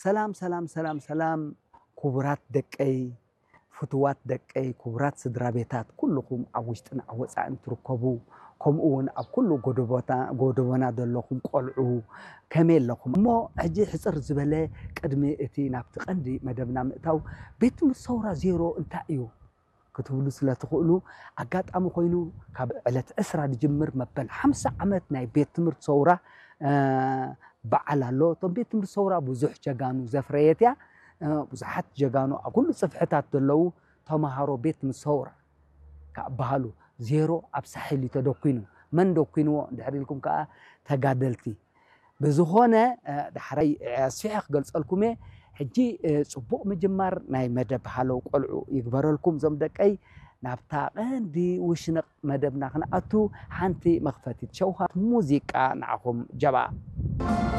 ሰላም ሰላም ሰላም ሰላም፣ ክቡራት ደቀይ፣ ፍቱዋት ደቀይ፣ ክቡራት ስድራ ቤታት፣ ኩልኹም ኣብ ውሽጥን ኣብ ወጻእን ትርከቡ፣ ከምኡ እውን ኣብ ኩሉ ጎደቦታ- ጎደቦና ዘለኹም ቆልዑ፣ ከመይ ኣለኹም? እሞ ሕጂ ሕጽር ዝበለ ቅድሚ እቲ ናብቲ ቀንዲ መደብና ምእታው፣ ቤት ትምህርቲ ሰውራ ዜሮ እንታይ እዩ ክትብሉ ስለ ትኽእሉ፣ ኣጋጣሚ ኮይኑ ካብ ዕለት ዕስራ ዝጅምር መበል ሓምሳ ዓመት ናይ ቤት ትምህርቲ ሰውራ በዓል ኣሎ። እቶም ቤት ትምህርቲ ሰውራ ብዙሕ ጀጋኑ ዘፍረየት እያ። ብዙሓት ጀጋኑ ኣብ ኩሉ ጽፍሕታት ዘለዉ ተምሃሮ ቤት ትምህርቲ ሰውራ ክበሃሉ፣ ዜሮ ኣብ ሳሕል እዩ ተደኩኑ። መን ደኩንዎ እንድሕር ኢልኩም ከኣ ተጋደልቲ። ብዝኾነ ዳሕራይ ኣስፊሐ ክገልጸልኩም እየ። ሕጂ ጽቡቕ ምጅማር ናይ መደብ ሃለው ቆልዑ ይግበረልኩም ዞም ደቀይ። ናብታ ቀንዲ ውሽንቕ መደብና ክንኣቱ፣ ሓንቲ መኽፈቲት ሸውሃት ሙዚቃ ንዓኹም ጀባ።